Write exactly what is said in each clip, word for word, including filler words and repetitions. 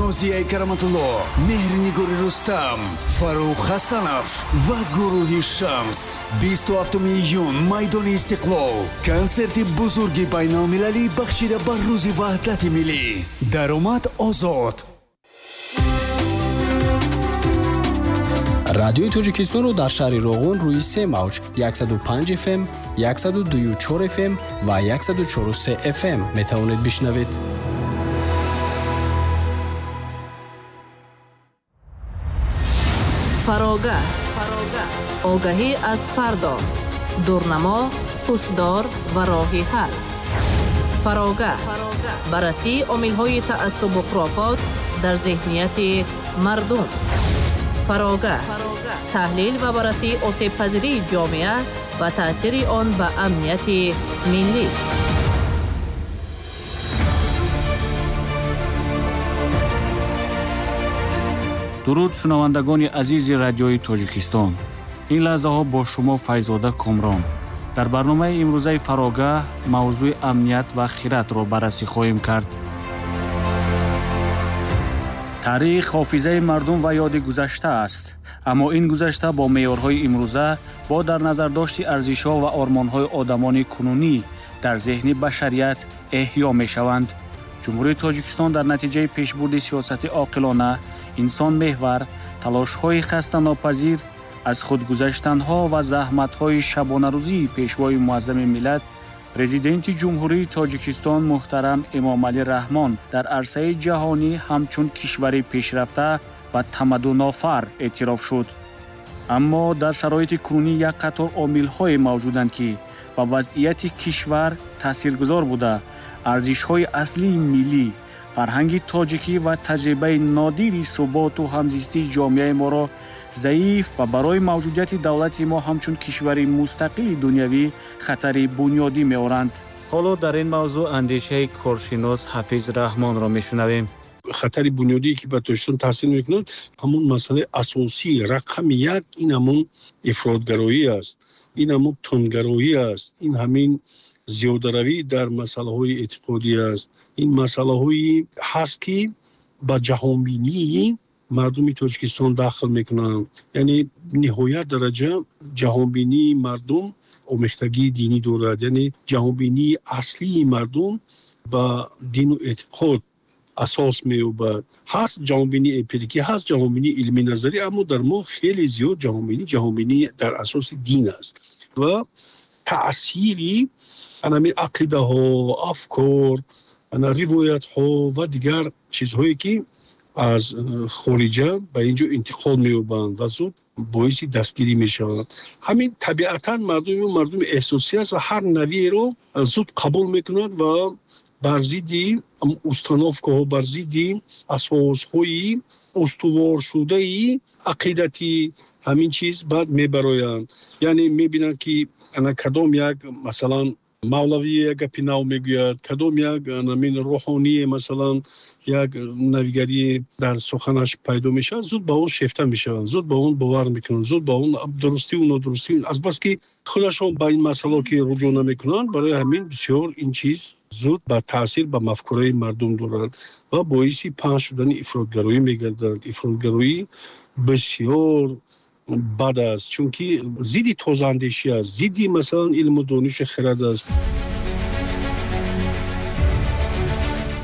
Нозияи Караматулло, Меҳрнигори Рустам, Фаррух Ҳасанов ва гурӯҳи Шамс. Бисту ҳафтуми июн, майдони Истиқлол. Консерти бузурги байналмилалӣ бахшида ба Рӯзи Ваҳдати Миллӣ. Даромад озод. Радиои Тоҷикистонро дар шаҳри Роғун рӯи се мавҷ яксаду панҷ эф эм, яксаду дую чор эф эм ва яксаду чору се эф эм метавонед бишнавед. Фарога. Огаҳӣ аз фардо. Дурнамо, ҳушдор ва роҳи ҳал. Фарога. Баррасии омилҳои таассубу хурофот дар зеҳнияти мардум. Фарога. Таҳлил ва баррасии осебпазирии ҷомеа ва таъсири он ба амнияти миллӣ. Дуруд шунавандагони азизи радиои Тоҷикистон. Ин лаҳзаҳо бо шумо Файзода Комрон. Дар барномаи имрӯзаи Фарога мавзӯи амният ва хиратро баррасӣ хоҳем кард. Таърих ҳофизаи мардум ва ёди гузашта аст. Аммо ин гузашта бо меъёрҳои имрӯза, бо дар назардошти арзишҳо ва ормонҳои одамони кунунӣ дар зеҳни башарият эҳё мешаванд. Ҷумҳурии Тоҷикистон дар натиҷаи пешбурди сиёсати оқилона, инсонмеҳвар, талошҳои хастанопазир, аз худгузаштанҳо ва заҳматҳои шабонарӯзии пешвои муаззами миллат, президенти Ҷумҳурии Тоҷикистон муҳтарам Эмомалӣ Раҳмон дар арсаи ҷаҳонӣ ҳамчун кишвари пешрафта ва тамаддунофар эътироф шуд. Аммо дар шароити кунунӣ як қатор омилҳое мавҷуданд, ки ба вазъияти кишвар таъсиргузор буда, арзишҳои аслии миллӣ, фарҳанги тоҷикӣ ва таҷрибаи нодири суботу ҳамзистии ҷомеаи моро заиф ва барои мавҷудияти давлати мо ҳамчун кишвари мустақили дунявӣ хатари бунёдӣ меоранд. Ҳоло дар ин мавзӯъ андешаи коршинос Ҳафиз Раҳмонро мешунавем. Хатари бунёдие ки ба Тоҷикистон таъсир мекунад, ҳамон масъалаи асосӣ рақами як ин ҳамон ифротгароӣ аст, ин ҳамон тундгароӣ аст, ин ҳамин зиёдаравӣ дар масъалаҳои эътиқодӣ аст, ин масъалаҳое ҳаст ки ба ҷаҳонбинии мардуми Тоҷикистон дахл мекунанд. Яъне ниҳоят дараҷа ҷаҳонбинии мардум омехтагии динӣ дорад, яъне ҷаҳонбинии аслии мардум ба дину эътиқод асос меёбад. Ҳаст ҷаҳонбинии эмпирикӣ, ҳаст ҷаҳонбинии илмӣ назарӣ, аммо дар мо хеле зиёд ҷаҳонбинӣ ҷаҳонбинӣ дар асоси дин аст ва таъсири анами ақидаҳо, афкор, ана ривоятҳо ва дигар чизҳое ки аз хориҷа ба ин ҷо интиқол меёбанд ва зуд боиси дастгирӣ мешаванд. Ҳамин табиатан мардуми мардуми эҳсосӣ аст ва ҳар навиеро зуд қабул мекунад ва бар зидди установкаҳо, бар зидди асосҳои устуворшудаи ақидатӣ ҳамин чиз баъд мебароянд. Яъне мебинанд ки ана кадом як масалан мавлавие як гапи нав мегӯяд, кадом як намин рӯҳоние масалан як навигарие дар суханаш пайдо мешавад, зуд ба он шефта мешаванд, зуд ба он бовар мекунанд, зуд ба он дурустиву нодурустӣ, азбаски худашон ба ин масъало ки руҷӯъ намекунанд, барои ҳамин бисёр ин чиз зуд ба таъсир ба мафкураи мардум дорад ва боиси паҳн шудани ифротгароӣ мегардад. Ифротгароӣ бисёр бад аст, чунки зидди тозаандешӣ аст, зидди масалан илму дониши хирад аст.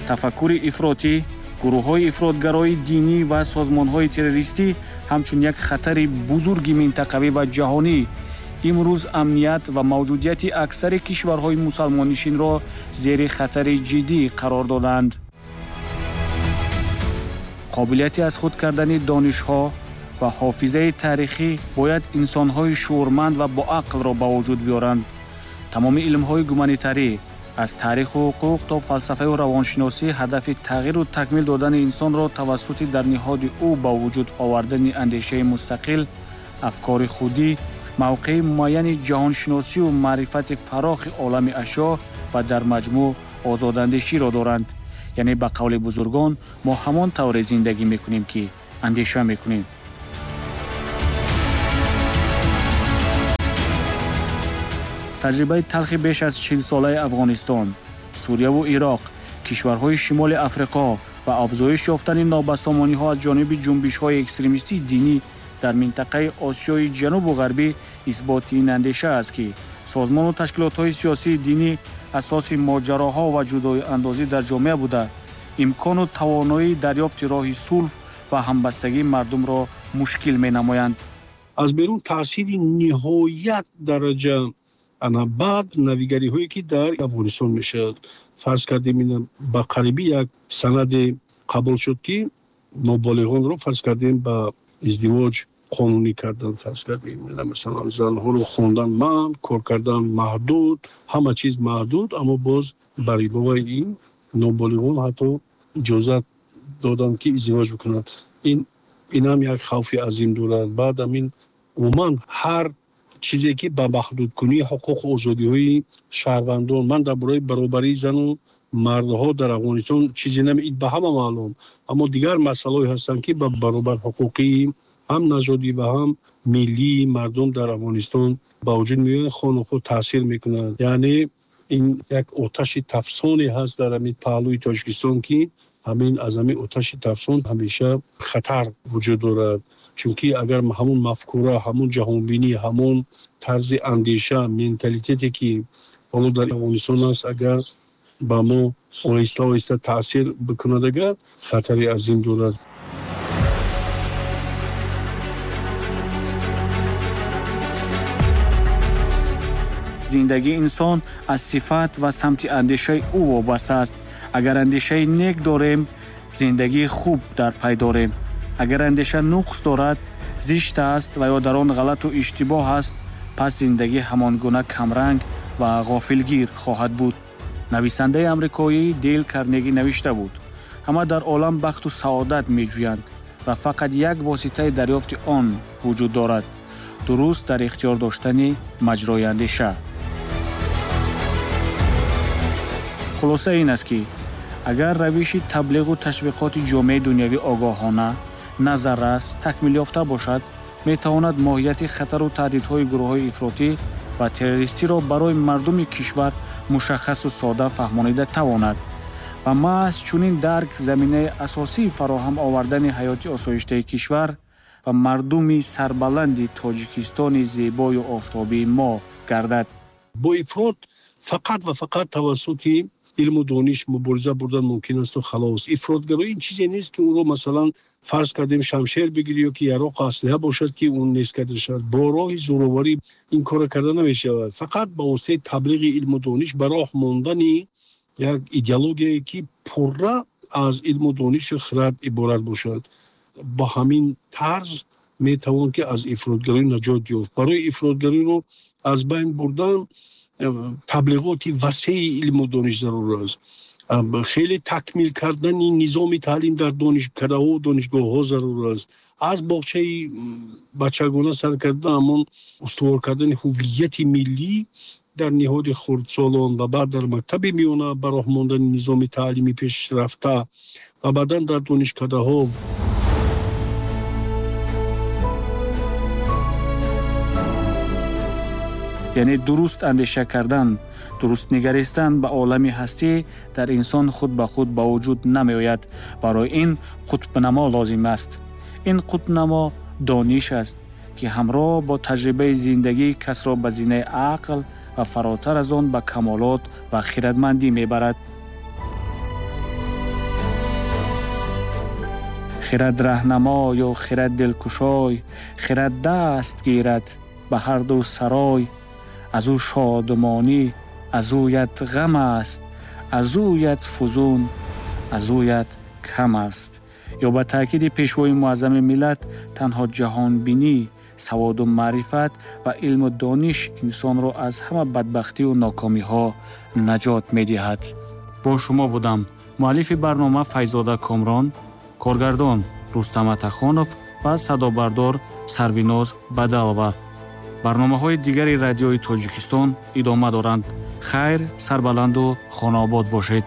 Тафаккури ифротӣ, гурӯҳҳои ифротгарои динӣ ва созмонҳои террористӣ ҳамчун як хатари бузурги минтақавӣ ва ҷаҳонӣ имрӯз амният ва мавҷудияти аксари кишварҳои мусалмоннишинро зери хатари ҷиддӣ қарор доданд. Қобилияти аз худ кардани донишҳо ва ҳофизаи таърихӣ бояд инсонҳои шуурманд ва боақлро ба вуҷуд биёранд. Тамоми илмҳои гуманитарӣ аз таъриху ҳуқуқ то фалсафаю равоншиносӣ ҳадафи тағйиру такмил додани инсонро тавассути дар ниҳоди ӯ ба вуҷуд овардани андешаи мустақил, афкори худӣ, мавқеи муайяни ҷаҳоншиносию маърифати фарохи олами ашё ва дар маҷмӯъ озодандеширо доранд. Яъне ба қавли бузургон мо ҳамон тавре зиндагӣ мекунем, ки андеша мекунем. Таҷрибаи талхи беш аз чилсолаи Афғонистон, Сурияву Ироқ, кишварҳои Шимоли Африқо, ва афзоиш ёфтани нобасомониҳо аз ҷониби ҷунбишҳои экстремистии динӣ дар минтақаи Осиёи Ҷанубу Ғарбӣ исботи ин андеша аст, ки созмону ташкилотҳои сиёсии динӣ асоси моҷароҳо ва ҷудоиандозӣ дар ҷомеа буда, имкону тавоноии дарёфти роҳи сулҳ ва ҳамбастагии мардумро мушкил менамоянд. Аз берун таъсири ниҳоят дараҷа ана баъд навигариҳое ки дар Афғонистон мешавад. Фарз кардем, ина ба қарибӣ як санаде қабул шуд, ки ноболиғонро фарз кардем ба издивоҷ қонунӣ кардан, фарз кардем масалан занҳоро хондан манъ, кор кардан маҳдуд, ҳама чиз маҳдуд, аммо боз бар иловаи ин ноболиғон ҳатто иҷозат доданд, ки издивоҷ бикунанд. Ин инам як хавфи азим дорад. Баъд ҳамин умуман ҳар чизе ки ба маҳдудкунии ҳуқуқу озодиҳои шаҳрвандон, ман дар бораи баробарии зану мардҳо дар Афғонистон чизе нами, ин ба ҳама маълум, аммо дигар масъалаҳое ҳастанд, ки ба баробарҳуқуқии ҳам нажодӣ ва ҳам миллии мардум дар Афғонистон ба вуҷуд меоянд, хону худ таъсир мекунанд. Яъне ин як оташи тафсоне ҳаст дар ҳамин паҳлӯи Тоҷикистон, ки ҳамин аз ҳамин оташи тафсон ҳамеша хатар вуҷуд дорад. Чунки агар ҳамун мафкура, ҳамун ҷаҳонбинӣ, ҳамун тарзи андеша, менталитете ки ҳоло дар Афғонистон аст, агар ба мо оҳиста оҳиста таъсир бикунад, агар хатари азим дорад. Зиндагии инсон аз сифат ва самти андешаи ӯ вобаста аст. Агар андешаи нек дорем, зиндагии хуб дар пай дорем. Агар андеша нуқс дорад, зишт аст ва ё дар он ғалату иштибоҳ аст, пас зиндагӣ ҳамон гуна камранг ва ғофилгир хоҳад буд. Нависандаи амрикоӣ Дейл Карнеги навишта буд: ҳама дар олам бахту саодат меҷӯянд ва фақат як воситаи дарёфти он вуҷуд дорад: дуруст дар ихтиёр доштани маҷрои андеша. Хулоса ин аст, ки агар равиши таблиғу ташвиқоти ҷомеаи дунявӣ огоҳона, назаррас, такмилёфта бошад, метавонад моҳияти хатару таҳдидҳои гурӯҳҳои ифротӣ ва террористиро барои мардуми кишвар мушаххасу сода фаҳмонида тавонад ва маҳз чунин дарк заминаи асосии фароҳам овардани ҳаёти осоиштаи кишвар ва мардуми сарбаланди Тоҷикистони зебою офтобии мо гардад. Бо ифрот фақат ва фақат тавассути илму дониш мубориза бурдан мумкин асту халос. Ифротгароӣ ин чизе нест, ки ӯро масалан фарз кардем шамшер бигирӣ ё ки яроқу аслиҳа бошад, ки он нест карда шавад. Бо роҳи зӯроварӣ ин корро карда намешавад. Фақат ба воситаи таблиғи илму дониш, ба роҳ мондани як идеологияе ки пурра аз илму донишу хирад иборат бошад. Ба ҳамин тарз метавон ки аз ифротгароӣ наҷот ёфт. Барои ифротгароиро аз байн бурдан таблиғоти васеи илму дониш зарур аст. Хеле такмил кардани низоми таълим дар донишкадаҳо донишгоҳҳо зарур аст. Аз боғчаи бачагона сар карда ҳамон устувор кардани ҳувияти миллӣ дар ниҳоди хурдсолон ва баъд дар мактаби миёна ба роҳ мондани низоми таълими пешрафта ва баъдан дар донишкадаҳо. Яъне дуруст андеша кардан, дуруст нигаристан ба олами ҳастӣ дар инсон худ ба худ ба вуҷуд намеояд. Барои ин қутбнамо лозим аст. Ин қутбнамо дониш аст, ки ҳамроҳ бо таҷрибаи зиндагӣ касро ба зинаи ақл ва фаротар аз он ба камолот ва хирадмандӣ мебарад. Хирад раҳнамо ё хирад дилкушой, хирад даст гирад ба ҳар ду сарой. Аз ӯ шодмонӣ, аз ӯят ғам аст, аз ӯят фузун, аз ӯят кам аст. Ё ба таъкиди пешвои муаззами миллат, танҳо ҷаҳонбинӣ, саводу маърифат ва илму дониш инсонро аз ҳама бадбахтию нокомиҳо наҷот медиҳад. Бо шумо будам муаллифи барнома Файзода Комрон, коргардон Рустам Атахонов ва садобардор Сарвиноз Бадалова. Барномаҳои дигари радиои Тоҷикистон идома доранд. Хайр, сарбаланду хонаобод бошед.